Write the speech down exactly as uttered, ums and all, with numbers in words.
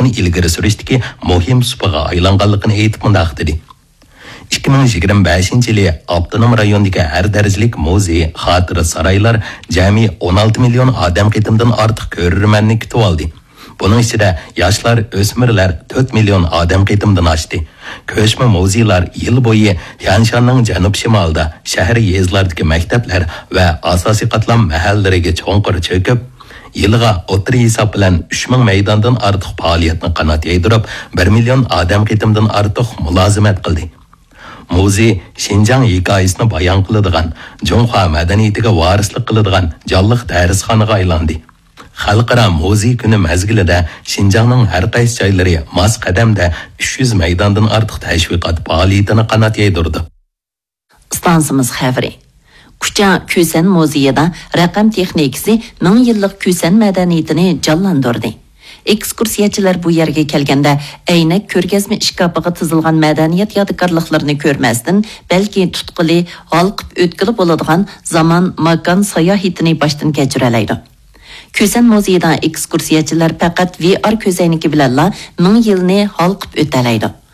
ئىلگىرى سۈرۈشتىكى مۇھىم سۇپىغا ئايلانغانلىقىنى ئېيتىپ مۇنداق دېدى: ئىككى مىڭ يىگىرمە بەشىنچى يىلى ئاپتونوم رايوندىكى ھەر دەرىجىلىك مۇزېي، خاتىرە سارايلار جەمئىي ئون ئالتە مىليون ئادەم قېتىمدىن ئارتۇق كۆرۈرمەننى كۈتۈۋالدى. بۇنىڭ ئىچىدە ياشلار، ئۆسمۈرلەر تۆت مىليون ئادەم قېتىمدىن ئاشتى. كۆچمە مۇزېيلار يىل بويى تيەنشاننىڭ جەنۇب-شىمالىدا، شەھەر، يېزىلاردىكى مەكتەپلەر ۋە ئاساسىي قاتلام مەھەللىلىرىگە چوڭقۇر چۆكۈپ، يىلىغا ئوتتۇرا ھېساب بىلەن ئۈچ مىڭ مەيداندىن ئارتۇق پائالىيەتنى قانات يايدۇرۇپ، بىر مىليون ئادەم قېتىمدىن ئارتۇق مۇلازىمەت قىلدى. مۇزېي شىنجاڭ ھېكايىسىنى بايان قىلىدىغان، جۇڭخۇا مەدەنىيىتىگە ۋارىسلىق قىلىدىغان جانلىق دەرسخانىغا ئايلاندى. خەلقئارا مۇزېي كۈنى مەزگىلىدە شىنجاڭنىڭ ھەر قايسى جايلىرى ماس قەدەمدە ئۈچ يۈز مەيداندىن ئارتۇق تەشۋىقات پائالىيىتىنى قانات يايدۇرىدۇ. ئىستانسىمىز خەۋىرى. كۇچا كۈسەن مۇزېيىدا رەقەم تېخنىكىسى مىڭ يىللىق كۈسەن مەدەنىيىتىنى جانلاندۇردى. ئېكسكۇرسىيەچىلەر بۇ يەرگە كەلگەندە، ئەينەك كۆرگەزمە ئىشكاپىغا تىزىلغان مەدەنىيەت يادىكارلىقلىرىنى كۆرمەستىن، بەلكى تۇتقىلى، ھالقىپ ئۆتكىلى بولىدىغان زامان، ماكان ساياھىتىنى باشتىن كەچۈرەلەيدۇ. كۈسەن مۇزېيىدا ئېكسكۇرسىيەچىلەر پەقەت ۋى ئار كۆزەينىكى بىلەنلا مىڭ يىلنى ھالقىپ ئۆتەلەيدۇ.